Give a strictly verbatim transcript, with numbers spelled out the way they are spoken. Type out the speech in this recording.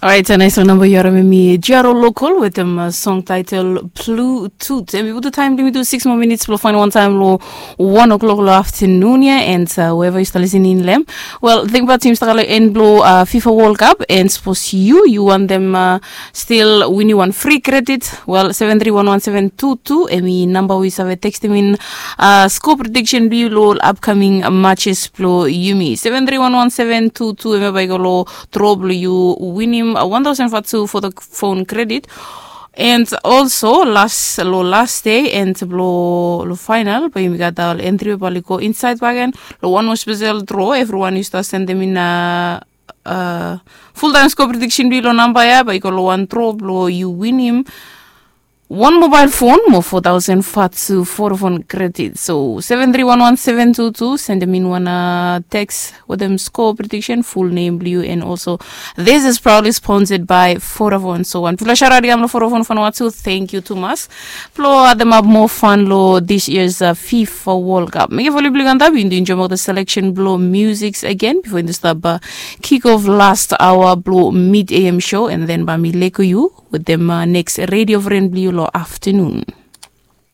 Orait, nais long namba yu harim em i Jaro Local wetem song title Blue Tooth. Em i putum taim blong yumi tu six moa minits blong fain wan taim long one o'clock long afternoon ya. And weva yu stap listening long em, well, tingbaot yumi stap kam long en blong FIFA World Cup, and sapos yu yu wantem stil winim wan free credit, well, seven three one one seven two two em i namba we yu save tekstim in score prediction blong yu long ol upcoming matches blong yumi. Seven three one one seven two two em ya bai go long draw blong yu winim one thousand fatu for the phone credit. And also las long las day and blong long final bai yumi gat ol entry we bai oli go inside bagen long wan moa spesel draw. Evriwan yu stap sendem in a full time score prediction blong yu long namba ya bai go long wan draw blong yu winim wan mobile phone mo four thousand fatu Vodafone credit. So seven three one one seven two two, sendem in wan text wetem score prediction, full name blong yu, and also this is proudly sponsored by Vodafone. So wan pifala sharat i kam long Vodafone Vanuatu, thank you tumas blong ademap moa fan long this year's FIFA World Cup. Mekem fo oli blong yu antap yu do enjoy moa the selection blong musics again before yu do stap kick off last hour blong mid A M show, and then bai mi lego yu wetem next radio friend blong yu long afternoon.